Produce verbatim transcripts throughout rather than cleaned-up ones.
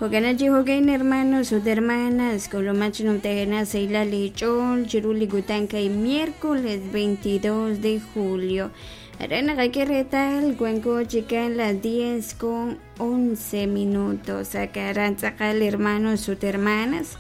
Jo'kan chi jo'kan hermanos ut hermanas k'ulumak chi numtajenaq sahilal eech'ool chiru li kutan kay miércoles veintidós de julio. Aran naqak'e reetal wanko chikan las diez con once minutos aran tz'aqal hermanos ut hermanas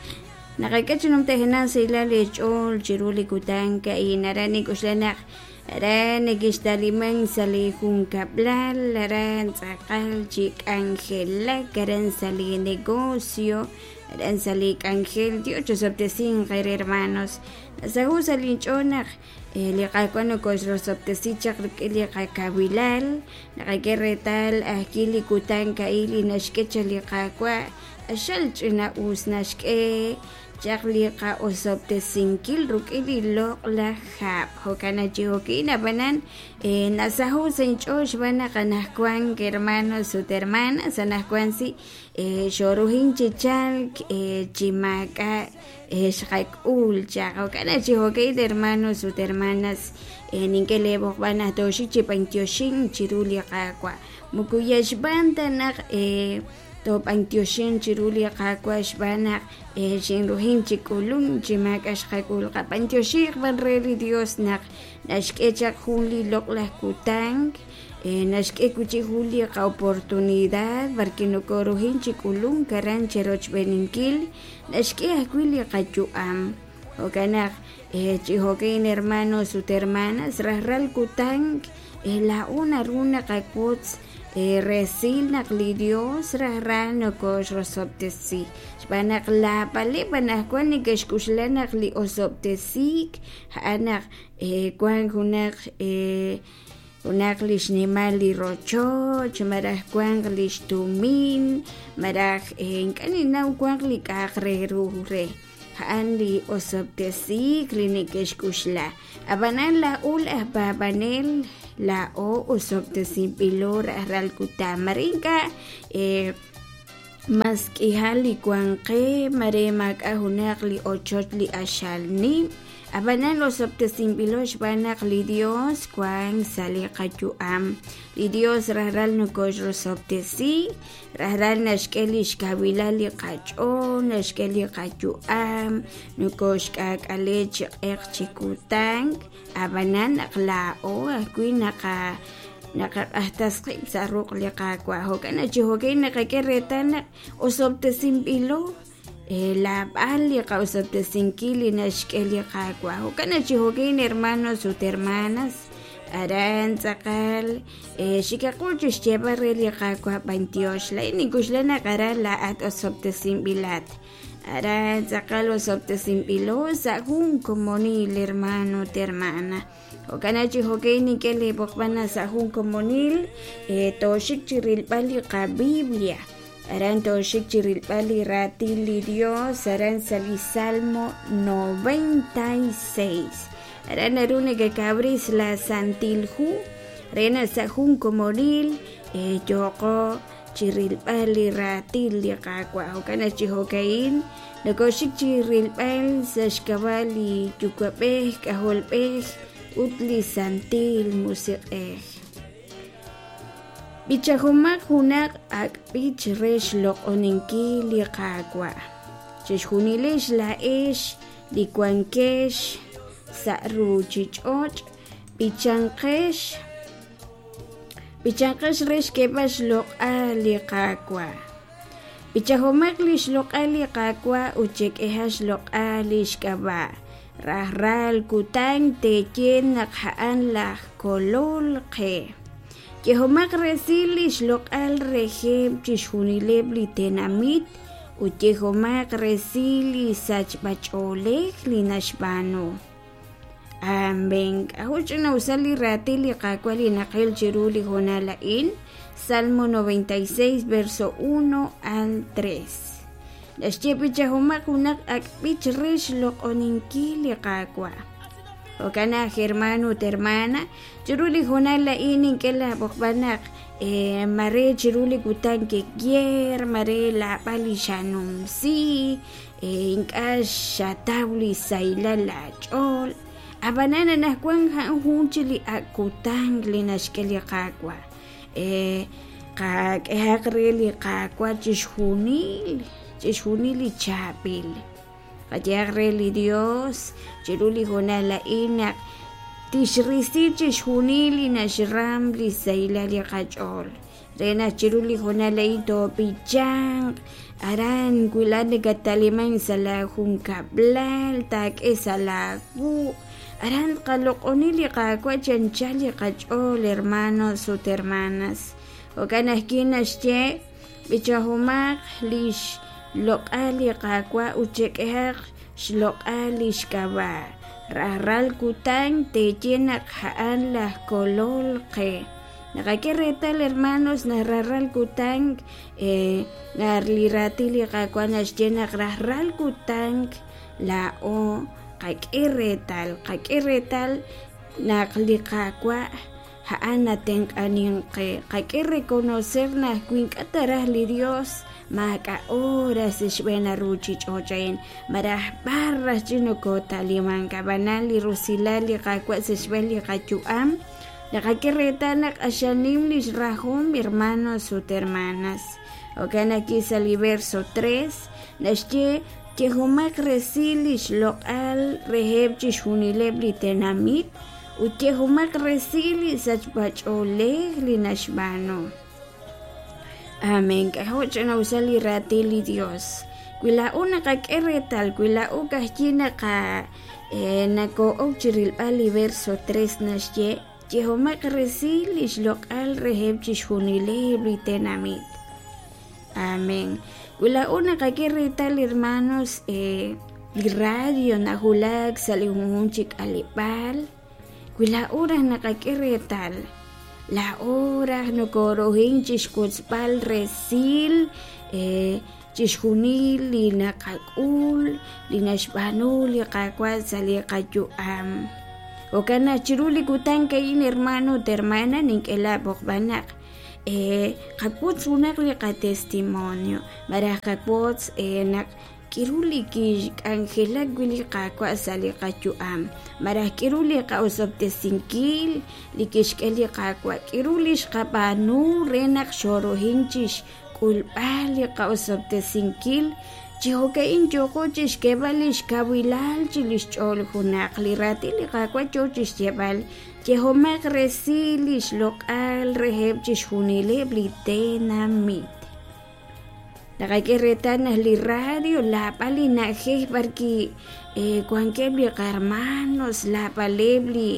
naqak'e chi numtajenaq sahilal eech'ool chiru li kutan ka'in aran nik'uxla naq aran nekixtaliman sa' li junkab'lal aran tz'aqal chi k'anjelak aran sa' li negocio aran sa' li k'anjel Dios chosob'tesinq eere hermanos nasaho' sa' linch'ool naq li Qaawa' nokoxrosob'tesi chaq rik'in li qakawilal naqak'e reetal ajwi' li kutan ka'in li naxk'e chaq li Qaawa' q'axal ch'ina'us naxk'e chaq li qa'osob'tesinkil rik'in li loq'laj hab' jo'kan chi jo'kin ab'anan nasaho' sa' inch'ool xb'aan naq anaqwan hermanos ut hermanas anaqwan si xoruhin chi chalk chi maak'a' xqak'ul chaq jo'kan chi jo'kin hermanos ut hermanas nink'e leeb'oqb'al naq tooxik chi b'antioxin chiru li Qaawa' moko yal xb'aan ta naq toob'antioxin chiru li Qaawa' xb'aan naq xinruhin chi k'ulun chi maak'a' xqak'ul qab'antioxiq b'an re li Dios naq naxk'e chaq jun li loq'laj kutan naxk'e wi' jun li qa'oportunidad barki nokoruhin chi k'ulun aran cherochb'eninkil naxk'e ajwi' li qayu'am jo'kan naq chi jo'kan hermanos ut hermanas rajlal kutan laa'o naru naqawotz resil naq li Dios rajlal nokoxrosob'tesi xb'aan naq laab'aleb' anaqwan neke'xk'uxla naq li osob'tesiik a'an naq wan junaq junaq li xnimal li rochoch malaj wanq li xtumin malaj ink'a' ninnaw wanq li k'a'aq re ru re a'an li osob'tesiik li neke'xk'uxla ab'anan laa'o laj paab'anel laa'o osob'tesinb'ilo rajlal kutan mare ink'a' mas k'ihal li wan qe mare maak'a' junaq li ochoch li q'axal nim ab'anan osob'tesinb'ilo xb'aan naq li Dios wan sa' li qayu'am li Dios rajlal nokoxrosob'tesi rajlal naxk'e li xkawilal li qach'ool naxk'e li qayu'am nokoxk'aak'ale chi q'eq chi kutan ab'anan naq laa'o ajwi' naqa naqaq'ajtas qib' sa' ruq' li Qaawa' jo'kan chi jo'kan naqak'e reetal naq osob'tesinb'ilo laab'al li qa'osob'tesinkil li naxk'e li Qaawa' jo'kan chi jo'kan hermanos ut hermanas aran tz'aqal xikaqul chi xyeeb'al re li Qaawa' b'antiox laa'in nink'uxla naq aran laa'at osob'tesinb'ilat aran tz'aqal osob'tesinb'ilo sa' jun komonil hermano ut hermana jo'kan chi jo'kan nink'e leeb'oqb'al sa' jun komonil tooxik chi rilb'al li qaBiblia aran tooxik chi rilb'al li raatin li Dios aran sa' li Salmo noventa y seis aran naru nekekabris la Santil Hu re naq sa' jun komonil yooqo chi rilb'al li raatin li Qaawa' jo'kan chi jo'kan nokoxik chi rilb'al sa' xk'ab'a' li Yuwa'b'ej K'ajolb'ej ut li Santil Musiq'ej b'ichajomaq junaq ak' b'ich re xloq'oninkil li Qaawa' chixjunilex laa'ex li wankex sa' ruuchich'och' b'ichanqex b'ichanqex re xk'eeb'al xloq'al li Qaawa' b'ichajomaq li xloq'al li Qaawa' ut chek'ehaq xloq'al li xk'ab'a' rajlal kutan teeye naq a'an laj Kolol qe yehomaq resil li xloq'al reheb' chixjunileb' li tenamit ut yehomaq resil li sachb'ach'oolej li naxb'aanu amén. K'a'jo' ch'ina'usal li raatin li Qaawa' li naqil chiru li hoonal a'in Salmo noventa y seis verso uno al tres naxye b'ichajomaq junaq ak' b'ich re xloq'oninkil li Qaawa' jo'kan naq hermano ut hermana chiru li hoonal a'in nink'e laab'oqb'al naq mare chiru li kutan ke'yer mare laab'al li xanumsi ink'a' xataw li sahilal laach'ool ab'anan anaqwan a'an jun chi li ak' kutan li naxk'e li Qaawa' Qak'ehaq re li Qaawa' chixjunil chixjunil li chaab'il. Qayehaq re li Dios chiru li hoonal a'in naq tixrisi chixjunil li naxram li sahilal li qach'ool. Re naq chiru li hoonal a'in toob'ichanq aran wi laa'at nakataliman sa' la junkab'lal taak'e sa' laawu' aran tqaloq'oni li Qaawa' chi anchal li qach'ool hermanos ut hermanas. Jo'kan ajwi' naxye b'ichahomaq li xloq'al li Qaawa' ut chek'ehaq xloq'al li xk'ab'a'. Rajlal kutan teeye naq a'an laj kolol qe. Naqak'e reetal hermanos naq rajlal kutan eh, li raatin li Qaawa' naxye naq rajlal kutan laa'o qak'e reetal qak'e reetal naq li Qaawa' a'an natenq'anink qe. Qak'e reconocer naq wi ink'a' ta raj li Dios maak'a' hora sa' xb'een ruuchich'och' a'in malaj b'ar raj chi nokotalimank ab'anan li rusilal li Qaawa' sa' xb'een li qayu'am naqak'e reetal naq q'axal nim li xrajom hermanos ut hermanas. Jo'kan ajwi' sa' li verso tres naxye yehomaq resil li xloq'al reheb' chixjunileb' li tenamit ut yehomaq resil li sachb'ach'oolej li naxb'aanu. Amén. K'ajo' ch'ina'usal li raatin li Dios. Wi laa'o naqak'e reetal, wi laa'o ka'ajwi' naqa eh, nakoo'ok chi rilb'al li verso tres naxye yehomaq resil li xloq'al reheb' chixjunileb' li tenamit. Amén. Wi laa'o naqak'e reetal hermanos eh, li radio najulak sa' li junjunq chi k'aleb'aal. Wi laa'o raj naqak'e reetal laa'o raj nokorohin chixwotzb'al resil eh, chixjunil li naqak'ul li naxb'aanu li Qaawa' sa' li qayu'am. Jo'kan naq chiru li kutan a'in hermano ut hermana nink'e laab'oqb'al naq eh, qawotz junaq li qatestimonio malaj qawotz eh, naq k'iru li kixk'anjelak wi' li Qaawa' sa' li qayu'am malaj k'iru li qa'osob'tesinkil li kixk'e li Qaawa' k'iru li xqab'aanu re naq xorohin chixk'ulb'al li qa'osob'tesinkil chi jo'ka'in yooqo chixk'eeb'al li xkawilal chi li xch'ool junaq li raatin li Qaawa' yoo chixyeeb'al yehomaq resil li xloq'al reheb' chixjunileb' li tenamit. Naqak'e reetal naq li radio laab'al li na'ajej b'arki eh, wankeb' li qarmanos laab'aleb' li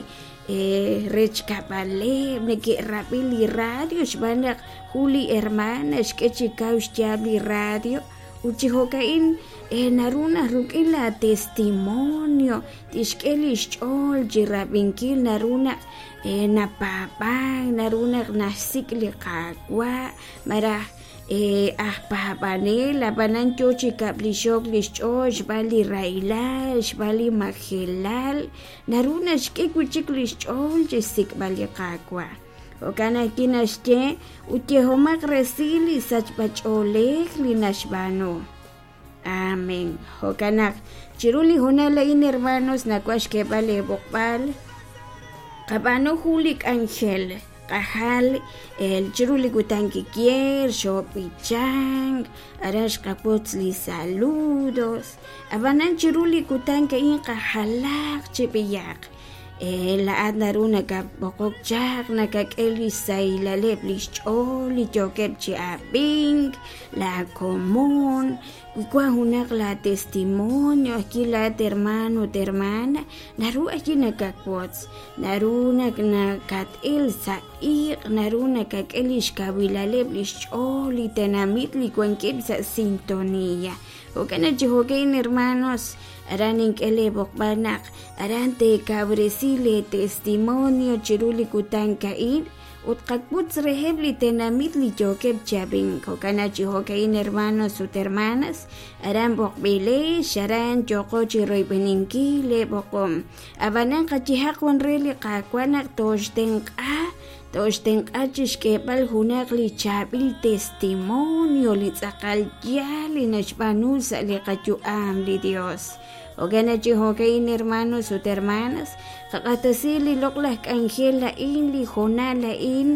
eh, rechkab'aleb' neke'rab'i li radio xb'aan naq jun li hermana xk'e chi kaw xyaab' li radio ut chi jo'ka'in eh, naru naq rik'in la testimonio tixk'e li xch'ool chi rab'inkil naru naq eh, napaab'an naru naq naxsik' li Qaawa' malaj eh, aj paab'anel ab'anan yoo chi kab'lixok li xch'ool xb'aan li rahilal xb'aan li majelal naru naxk'e wi' chik li xch'ool chi xsik'b'al li Qaawa'. Jo'kan ajwi' naxye ut yehomaq resil li sachb'ach'oolej li naxb'aanu. Amén. Jo'kan naq chiru li hoonal a'in hermanos nawaj xk'eeb'al eeb'oqb'al qab'aanu jun li k'anjel qajal el chiru li kutan kikier xoob'ichank aran xqawotz li saludos ab'anan chiru li kutan a'in qajalaq chi b'iyaq eh, laa'at naru nakab'oqok chaq nakak'e li xsahilaleb' li xch'ool li yookeb' chi ab'ink laakomon wi wan junaq la testimonio ajwi' laat hermano ut hermana naru ajwi' nakawotz naru naq nakat'il sa' iq' naru nakak'e li xkawilaleb' li xch'ool li tenamit li wankeb' sa' sintonía. Jo'kan naq chi jo'kan hermanos aran nink'e leeb'oqb'al naq aran teekawresi lee testimonio chiru li kutan a'in ut qawotz reheb' li tenamit li yookeb' chi ab'ink. Jo'kan naq chi jo'ka'in hermanos ut hermanas aran b'oqb'ilex aran yooqo chi royb'eninkil leeb'oqom ab'anan qayehaq wan re li Qaawa' naq tooxtenq'a tooxtenq'a chixk'eeb'al junaq li chaab'il testimonio li tz'aqal yaal li naxb'aanu sa' li qayu'am li Dios. Jo'kan chi jo'ka'in hermanos ut hermanas qaq'axtesi li loq'laj k'anjel a'in li hoonal a'in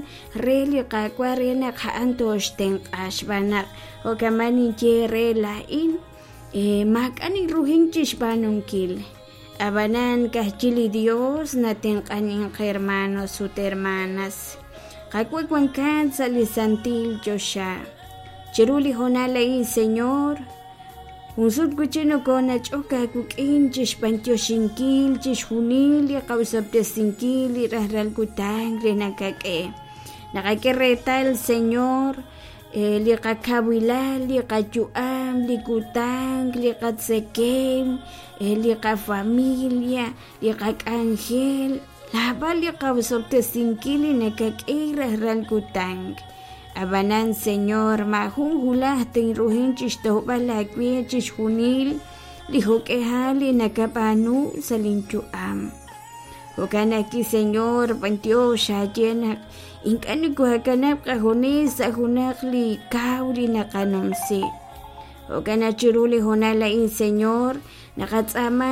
re li Qaawa' re naq a'an toxtenq'a xb'aan naq jo'kaman ninye re laa'in maak'a' ninruhin chixb'aanunkil ab'anan kajchi li Dios natenq'anin qe hermanos ut hermanas. Qaawa' wankat sa' li santil choxa chiru li hoonal a'in Señor Unsut wichi nokonach'ok aawik'in chixb'antioxinkil chixjunil li qawsab'tesinkil li rajlal kutan re nakak'e naqak'e reetal Señor li qakawilal li qayu'am li kutan li qatzekem li qafamilia li qak'anjel laab'al li qawsab'tesinkil li nakak'e rajlal kutan. Ab'anan Señor maajun hulaj tinruhin chixtojb'al aawe chixjunil li jo'k'ejal li nakab'aanu sa' linyu'am. Jo'kan ajwi' Señor b'antiox aaye naq ink'a' nikuhakanab' qajunes sa' junaq li kaw li naqanumsi. Jo'kan aj chiru li hoonal a'in Señor naqatz'aama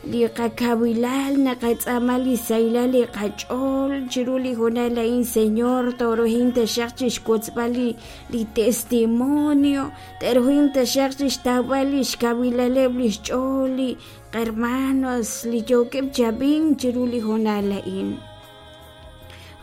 li qakawilal naqatz'aama li sahilal li qach'ool chiru li hoonal a'in Señor toruhin taxaq chixwotzb'al li li testimonio teruhin taxaq chixtawb'al li xkawilaleb' li xch'ool li hermanos li yookeb' chab'in chiru li hoonal a'in.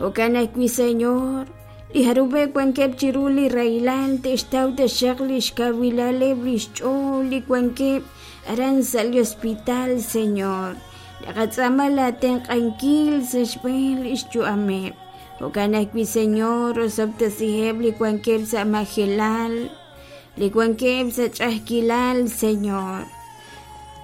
Jo'kan ajwi' Señor li jarub'eb' wankeb' chiru li rahilal te'xtaw taxaq li xkawilaleb' li xch'ool li wankeb' aran sa' li hospital Señor naqatz'aama laatenq'ankil sa' xb'een li xyu'ameb'. Jo'kan ajwi' Señor osob'tesiheb' li wankeb' sa' majelal li wankeb' sa' ch'a'ajkilal Señor.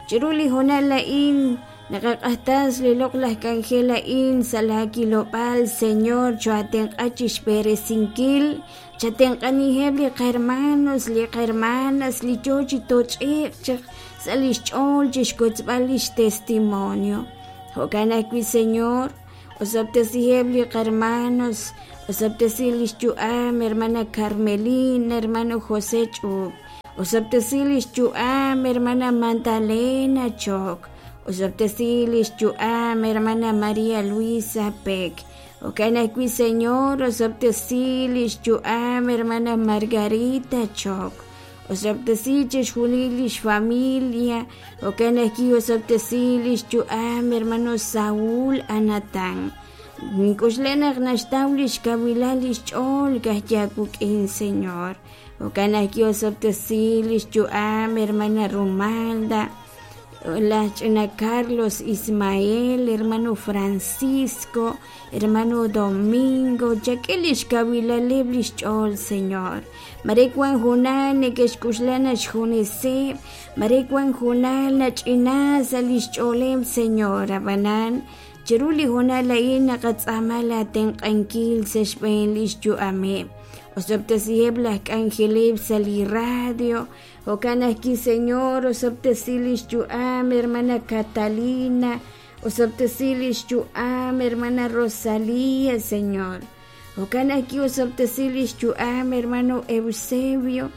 Chiru li hoonal a'in naqaq'axtas li loq'laj k'anjel a'in sa' laakilob'aal Señor choatenq'a chixb'eresinkil chatenq'aniheb' li qahermanos li qahermanas li yoo chi toch'e'q chaq sa' li xch'ool chixkotzb'al li xtestimonio. Jo'kan ajwi' Señor osob'tesiheb' li qahermanos osob'tesi li xyu'am hermana Carmelina hermano José Ch'ub osob'tesi li xyu'am hermana Magdalena Chok osob'tesi li xyu'am hermana María Luisa Peck. Jo'kan ajwi' Señor osob'tesi li xyu'am hermana Margarita Chok osob'tesi chixjunil li xfamilia. Jo'kan ajwi' osob'tesi li xyu'am hermano Saúl Anatán nk'uxle naq naxtaw li xkawilal li xch'ool kajyaawuk'in Señor. Jo'kan ajwi' osob'tesi li xyu'am hermana Romalda la ch'ina Carlos Ismael hermano Francisco hermano Domingo chak'e li xkawilaleb' li xch'ool Señor. Mare wan junal neke'xk'uxla naxjuneseb' mare wan junal nach'ina sa' li xch'ooleb' Señor ab'anan chiru li hoonal a'in naqatz'aama laatenq'ankil sa' xb'een li xyu'ameb'. Osob'tesiheb' laj k'anjeleb' sa' li radio. Jo'kan ajwi' Señor osob'tesi li xyu'am hermana Catalina osob'tesi li xyu'am hermana Rosalía Señor. Jo'kan ajwi' osob'tesi li xyu'am hermano Eusebio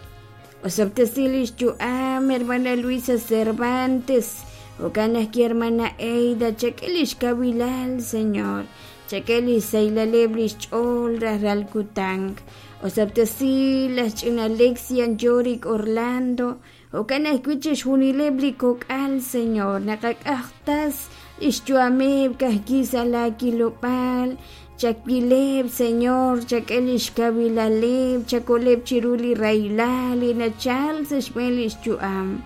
osob'tesi li xyu'am hermana Luisa Cervantes. Jo'kan ajwi' hermana Eida chak'e li xkawilal Señor chak'e li xsaylaleb' li xch'ool rajlal kutan. Osob'tesi laj ch'ina Alexia Yorick Orlando. Jo'kan ajwi' chixjunileb' li kok'al Señor naqak'ajtas li xyu'ameb' kajki sa' laakilob'aal chakileb' Señor chak'e li xkawilaleb' chakoleb' chiru li rahilal li nachal sa' xb'een li xyu'am.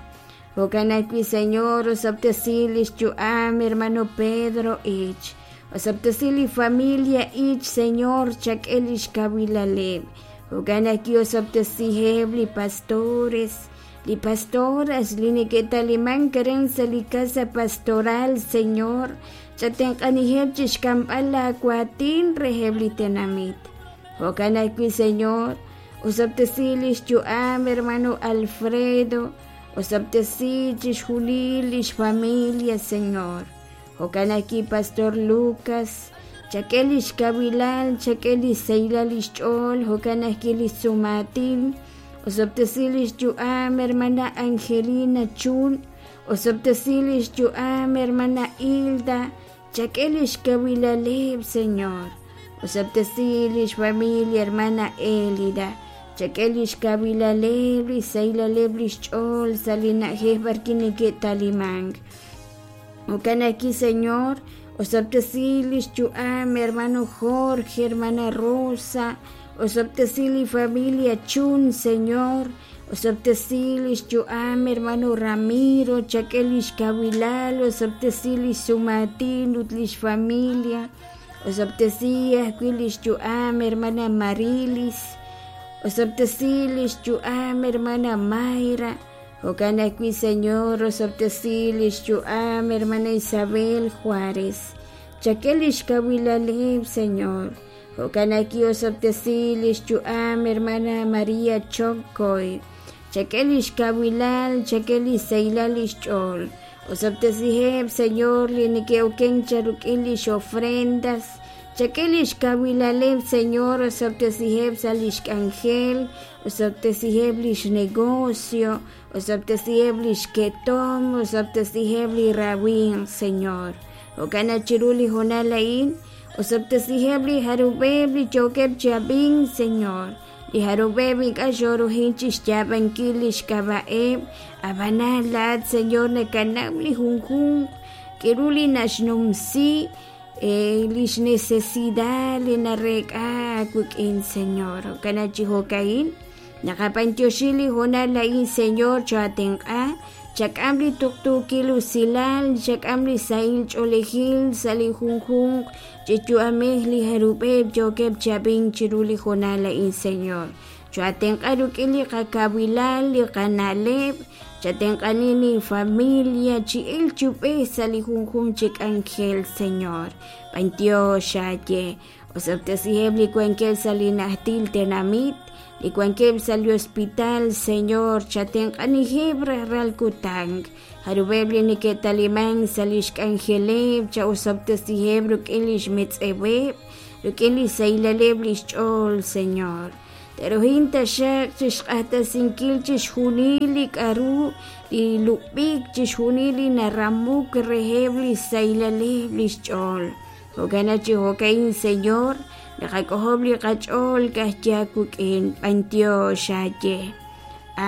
Jo'kan ajwi' Señor osob'tesi li xyu'am hermano Pedro Ich osob'tesi li familia Ich Señor chak'e li xkawilaleb'. Jo'kan ajwi' osob'tesiheb' li pastores li pastoras li neke'taliman karen sa' li casa pastoral Señor chatenq'aniheb' chixk'amb'al laakuatin reheb' li tenamit. Jo'kan ajwi' Señor osob'tesi li xyu'am hermano Alfredo osob'tesi chixjunil li xfamilia Señor. Jo'kan ajwi' Pastor Lucas chak'e li xkawilal chak'e li xsahilal li xch'ool jo'kan ajwi' li sumatin osob'tesi li xyu'am hermana Angelina Chun Osob'tesi lix yu'am hermana Hilda, chak'e lix kawilaleb, Señor. Osob'tesi lix familia hermana Elida, chak'e lix kawilaleb, lix saylaleb lix ch'ool sa' li na'ajej b'arwi' neke'talimank. Jo'kan ajwi', Señor, osob'tesi lix yu'am hermano Jorge, hermana Rosa, osob'tesi li familia Chun, Señor, osob'tesi lix yu'am hermano Ramiro, chak'e lix kawilal, osob'tesi lix sumatin ut lix familia, osob'tesi ajwi' lix yu'am hermana Marilis, osob'tesi lix yu'am hermana Mayra, jo'kan ajwi', Señor, osob'tesi lix yu'am hermana Isabel Juárez, chak'e lix kawilaleb, Señor. Jo'kan ajwi' osob'tesi lix yu'am hermana María Chocoy, chak'e lix kawilal, chak'e lix saylal lix ch'ool. Osob'tesiheb, Señor, li neke'oken charuk'in lix ofrendas, chak'e lix kawilaleb, Señor, osob'tesiheb sa' lix k'anjel, osob'tesiheb lix negocio, osob'tesiheb lix ketom, osob'tesiheb li rawin, Señor. Jo'kan chiru li hoonal a'in, osob'tesiheb li jarub'eb li yookeb chi ab'ink, Señor. Li jarub'eb ink'a' xoruhin chixyaab'ankil lix k'ab'a'eb, ab'anan laat, Señor, nakanaw li junjunq k'aru li naxnumsi lix necesidad li narek'a aawik'in, Señor. Jo'kan chi jo'ka'in naqab'antioxi li hoonal a'in, Señor, choatenq'a, chak'am li tuqtuukil usilal, chak'am li sahil ch'oolejil sa' li junjunq chi yu'amej li jarub'eb yookeb' chi ab'ink chiru li hoonal a'in, Señor. Choatenq'a rik'in li qakawilal, li qana'leb', chatenq'ani li familia chi el chub'ej sa' li junjunq chi k'anjel, Señor. B'antiox aaye, osob'tesiheb' li wankeb' sa' li najtil tenamit, li wankeb' sa' li hospital, Señor, chatenq'aniheb' rajlal kutan. Jarub'eb' li neke'talimank sa' lix k'anjeleb', cha osob'tesiheb' rik'in lix metz'eweb', rik'in li saylaleb' lix ch'ool, Señor. Teruhin taxaq chixq'axtesinkil chixjunil li k'aru li lub'ik, chixjunil li naramuk reheb' li saylaleb' lix ch'ool. Jo'kan chi jo'ka'in, Señor, naqak'ojob' li qach'ool kajya wik'in, b'antiox aaye.